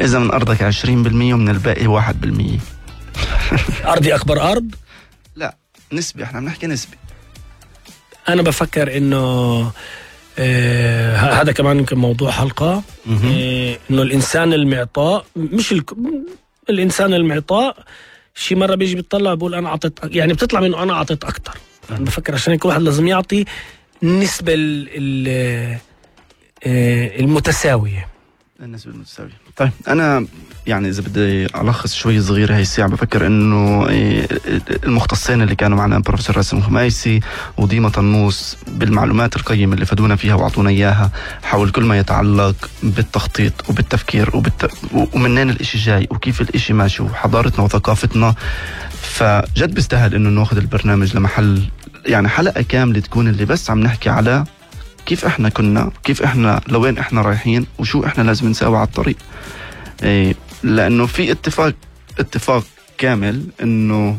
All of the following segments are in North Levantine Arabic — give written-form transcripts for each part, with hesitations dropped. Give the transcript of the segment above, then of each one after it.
إذا من أرضك 20% ومن الباقي 1%. أرضي أكبر أرض؟ لا، نسبي، احنا بنحكي نسبي. أنا بفكر إنه هذا كمان يمكن موضوع حلقة. إنه الإنسان المعطاء مش الإنسان المعطاء شي مرة بيجي بيطلع بيقول أنا أعطيت، يعني بتطلع منه أنا أعطيت أكتر. أنا بفكر عشان كل واحد لازم يعطي النسبة المتساوية. النسبة المتساوية. طيب أنا يعني إذا بدي ألخص شوي صغير هاي الساعة، بفكر إنه المختصين اللي كانوا معنا بروفيسور راسم خميسي وديما طنوس بالمعلومات القيمة اللي فادونا فيها وعطونا إياها حول كل ما يتعلق بالتخطيط وبالتفكير ومنين الإشي جاي وكيف الإشي ماشي وحضارتنا وثقافتنا. فجد بيستاهل إنه ناخذ البرنامج لمحل يعني حلقة كاملة تكون اللي بس عم نحكي على كيف احنا كنا، كيف احنا لوين احنا رايحين، وشو احنا لازم نساوي على الطريق. لانه في اتفاق كامل انه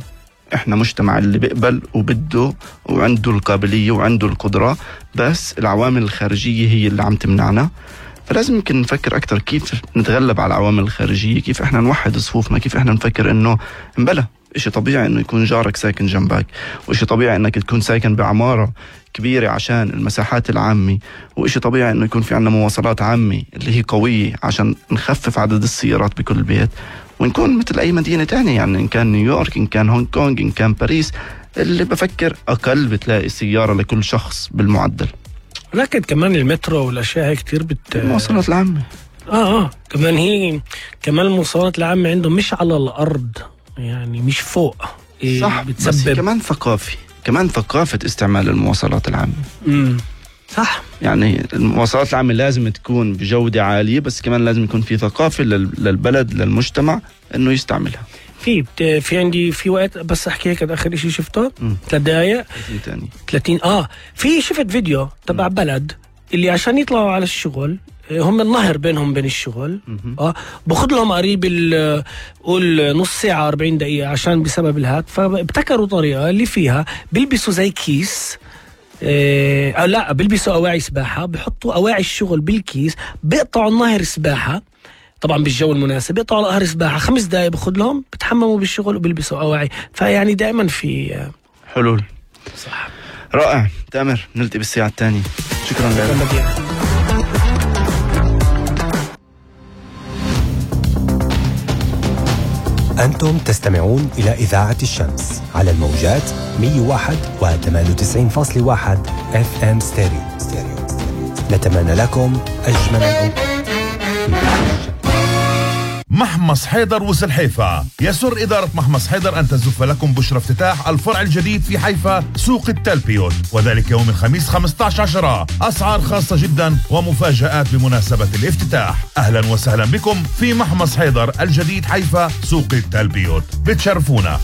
احنا مجتمع اللي بيقبل وبده وعنده القابلية وعنده القدرة، بس العوامل الخارجية هي اللي عم تمنعنا. فلازم يمكن نفكر اكتر كيف نتغلب على العوامل الخارجية، كيف احنا نوحد صفوفنا، كيف احنا نفكر انه مبلا إشي طبيعي إنه يكون جارك ساكن جنبك، وإشي طبيعي إنك تكون ساكن بعمارة كبيرة عشان المساحات العامة، وإشي طبيعي إنه يكون في عنا مواصلات عامة اللي هي قوية عشان نخفف عدد السيارات بكل بيت، ونكون مثل أي مدينة تانية، يعني إن كان نيويورك، إن كان هونغ كونغ، إن كان باريس، اللي بفكر أقل بتلاقي سيارة لكل شخص بالمعدل. لكن كمان المترو والأشياء هي كتير المواصلات العامة كمان هي كمان المواصلات العامة عندهم مش على الأرض، يعني مش فوق. صح، بس كمان كمان ثقافة استعمال المواصلات العامة. صح، يعني المواصلات العامة لازم تكون بجودة عالية، بس كمان لازم يكون في ثقافة للبلد للمجتمع إنه يستعملها. في عندي في وقت بس أحكي هيك آخر إشي شفته 3 دقايق 30 في شفت فيديو تبع بلد اللي عشان يطلعوا على الشغل هم النهر بينهم بين الشغل باخذ لهم قريب قول نص ساعة 40 دقيقة عشان بسبب الهات. فابتكروا طريقة اللي فيها بيلبسوا زي كيس لا بيلبسوا أواعي سباحة، بيحطوا أواعي الشغل بالكيس، بيقطعوا النهر سباحة طبعا بالجو المناسب، بيقطعوا نهر سباحة 5 دقايق باخذ لهم، بتحمموا بالشغل وبيلبسوا أواعي. فيعني دائما في حلول. صح، رائع. تامر، نلتقي بالساعة الثانية. شكرا لك. أنتم تستمعون إلى إذاعة الشمس على الموجات 101.98.1 FM ستيريو. نتمنى لكم أجمل الأوقات. محمص حيدر وسلحيفة. يسر إدارة محمص حيدر أن تزف لكم بشرى افتتاح الفرع الجديد في حيفا سوق التلبيوت، وذلك يوم الخميس 15/10. أسعار خاصة جدا ومفاجآت بمناسبة الافتتاح. أهلا وسهلا بكم في محمص حيدر الجديد حيفا سوق التلبيوت، بتشرفونا.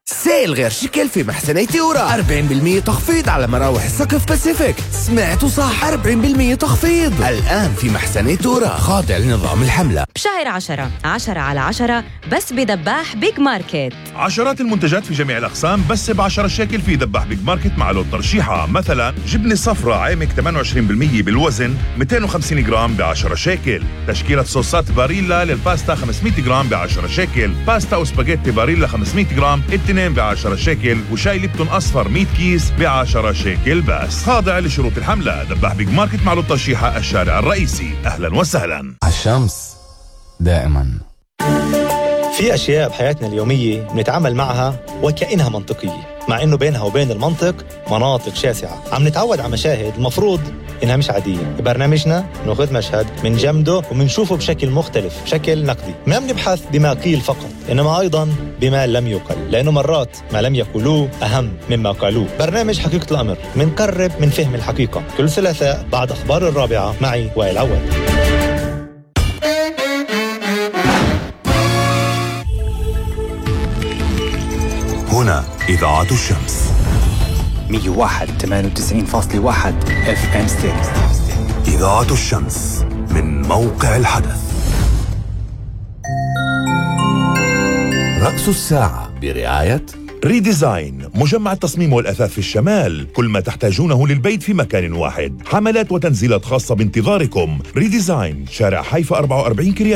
سيل غير شكل في محسني تيورا، 40% تخفيض على مراوح السقف باسيفيك. سمعتوا صح، 40% تخفيض الآن في محسني تيورا، خاضع لنظام الحملة. بشهر 10 على 10 بس بدباح بيج ماركت. عشرات المنتجات في جميع الأقسام بس ب10 شيكل في دباح بيج ماركت مع لون ترشيحة. مثلا جبنة صفراء عامك 28% بالوزن 250 جرام ب10 شيكل. تشكيلة صوصات باريلا للباستا 500 جرام ب10 شيكل. باستا وسباجيتي باريلا 500 جرام 2 ب10 شيكل. وشاي ليبتون أصفر 100 كيس ب10 شيكل بس. خاضع لشروط الحملة. دباح بيج ماركت مع لون ترشيحة الشارع الرئيسي. أهلا وسهلا. الشمس دائما. في أشياء بحياتنا اليومية بنتعامل معها وكأنها منطقية، مع إنه بينها وبين المنطق مناطق شاسعة. عم نتعود على مشاهد المفروض إنها مش عادية. ببرنامجنا نأخذ مشهد من جمده ومنشوفه بشكل مختلف، بشكل نقدي. ما بنبحث بما قيل فقط، إنما أيضا بما لم يقل، لأنه مرات ما لم يقولوه أهم مما قالوه. برنامج حقيقة الأمر منقرب من فهم الحقيقة، كل ثلاثاء بعد أخبار 4 معي وائل عواد. هنا إذاعة الشمس 101.98.1 FM ستيريو. إذاعة الشمس من موقع الحدث. رأس الساعة برعاية ريديزاين، مجمع التصميم والأثاث في الشمال. كل ما تحتاجونه للبيت في مكان واحد. حملات وتنزيلات خاصة بانتظاركم. ريديزاين، شارع حيفا 44 كريات.